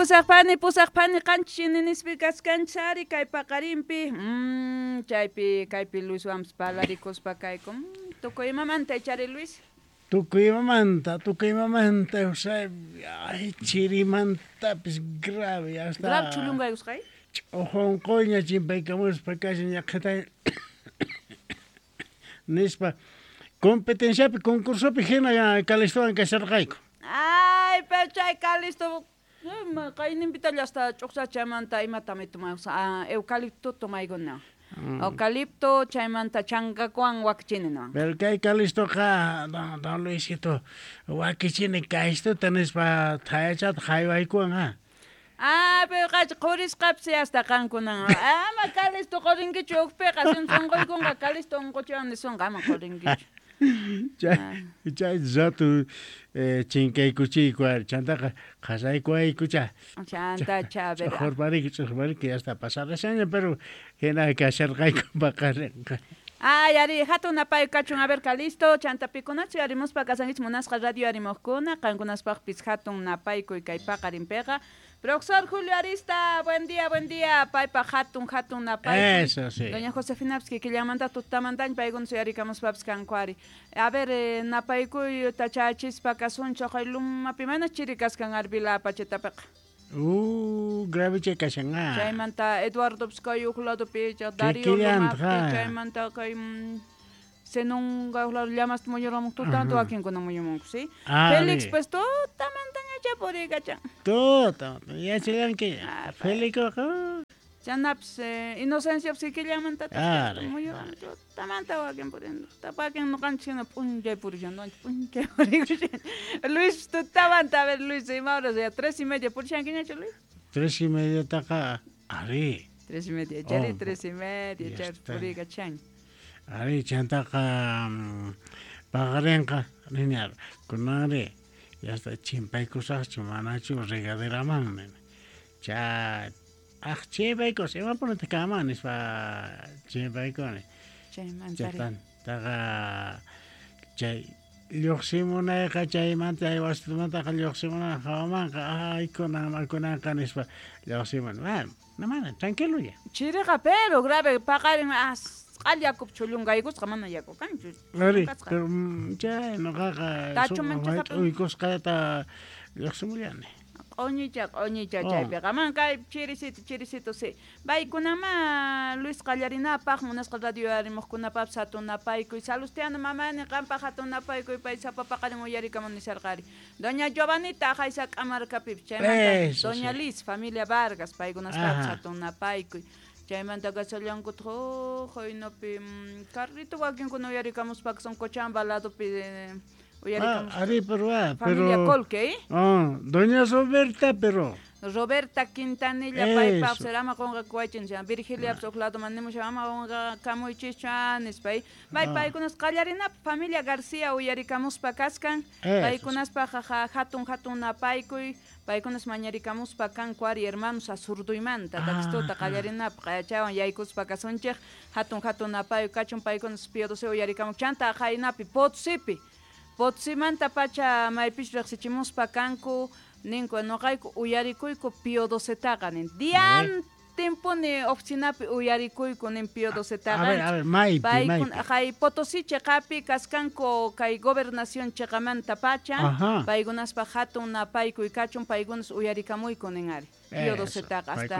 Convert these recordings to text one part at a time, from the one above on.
Pusaq phani 7 nispi kaskanchis ari kay paqarinpi. Chaypi kaypi Luiswanpas parlarikuspa kayku. Tukuy imamanta ichari, Luis? Tukuy imamanta, Eusebio, ay, chirimantapis grave hasta. Grave chhullunqaykusqay. Ch'uqunquyña chimpaykamuspa kashan ñaqhata nispa competenciapi, concursopi hina Calistowan kasharqayku. Ay, pero chay Calisto qayninpitalla hasta ch'uqsachamanta imatami tomaykus, eucalipto tomaykuna. Eucalipto chaymanta chankakuwan wakichini no. Pero kay Calistoqa don Luisito wakichini kaystuta nispa thayachata haywaykuwan ha. Ah, pero qacha qurisqapis hasta qankunan. Ama Calisto qurinkichu ukpiqa, sin sunquykunqa Calisto unquchiwan nisunqa, ama qurinkichu. Chay rato chinkaykuchiyku ari, chantaqa qasaykuwaykucha. Chanta cha. Ch'uqurpariki, ch'uqurpariki hasta pasarashaña, pero hina kasharqayku paqarinqa. Ay, ari, hatun napay kachun, a ver, Calisto, chanta pikunachu yarimuspa kasankichik, munasqa radio arimuqkuna, qankunaspaqpis hatun napaykuy kay paqarinpiqa. Profesor Julio Arista, buen día, buen día, paypaq hatun, hatun napaykuy. Eso sí. Doña Josefina kikillanmanta tutamantaña paykuna suyarikamuspapis kanku ari. A ver, napaykuy tachachispa kasunchik, chay lumapi mana chiri kaskan arbila pachetapiqa. Grave chay kashan. Chaymanta Eduardo kay huk ladopi, Darío lumapi, chaymanta kay Zenonga huk lado llamasta muyuramuq tutamanta wakinkuna muyumunku, sí? Félix pues tutamantañacha puriykachan. Tuta, yachallanki. Félixqa. Chanapis Inocencia kikillanmanta muyuramun tutamanta wakin purin. Wakin ñuqanchik hina p'unchay purishan, p'unchay purikushan. Luis tutamanta, a ver, Luis, ima horas ya 3:30 purishankiñachu, Luis? 3:30 taqa ari. 3:30, chari 3:30 chari puriykachan. Ari, chantaqa paqarinqa nini kunanri yasta chimpaykusaqchu manachu regaderaman nini. Cha ah chimpaykus imapunataq kanman nispa chimpaykuni. Chaymanta. Taqa chay lluqsimunayqa chaymanta chay wasimantaqa lluqsimunayqa hawamanqa ay kunan kunanqa nispa lluqsimuni. Bueno, mana tranquilo ya. Chiriqa pero grave paqarin as q'al yakupi chhullunqaykusqa, mana yaku kanchu. Ari, pero chay ñuqaqa uykusqata lluqsimullani. Q'uñicha, q'uñicha chaypiqa. Man kay chirisito, chirisito, sí. Baykunama Luis qallarinapaq munasqa radio arimuqkunapaqpas hatun napaykuy. Salustiano mamani qampaq hatun napaykuy, pay sapa paqarin uyarikamun nisharqari. Doña Giovanita haysa k'amarkapipis chaymanta Doña Liz, familia Vargas, paykunaspaqpas hatun napaykuy. Chaymanta kasallankutaq huynupi carrito wakinkuna uyarikamuspa son Cochabamba ladopi uyarikamus. Ari, pero familia Colque, Oh, doña Roberta, pero Roberta Quintanilla paypaq ama qunqakuwaychin, Virgilia huk ladoman nimusha ama qunqakamuychischu nispa. Bay paykunas qallarinapaq familia García uyarikamuspa kaskan, paykunaspaq hatun hatun napaykuy, paykunas mañarikamuspa kanku ari hermanos Azurduymanta takistuta qallarinapaq qayachawan yaykuspa kasunchik, hatun hatun napaykuy kachun paykunas Pío XII uyarikamuq chanta qaynapi Potosipi, Potosimanta pacha maypis riqsichimuspa kanku ninku ñuqayku uyarikuyku Pío XII-taqa nin diantinpuni oficinapi uyarikuyku nin Pío XII-taqa. A ver, maypi, maypi. Hay Potosí chiqapi kaskanku kay gobernación chiqamanta pacha, paykunaspaq hatun napaykuy kachun, paykunas uyarikamuyku nin ari Pío XII-taqa hasta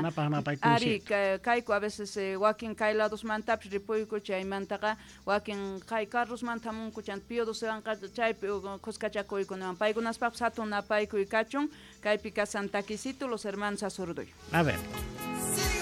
ari kayku a veces wakin kay ladosmantapis ripuyku chaymantaqa wakin kay carrosmanta hamunku chanta Pío XII-wanqa chaypi kuskachakuyku niwan paykunaspaqpas hatun napaykuy kachun kaypi kasan taquisito los hermanos Azurduy. A ver.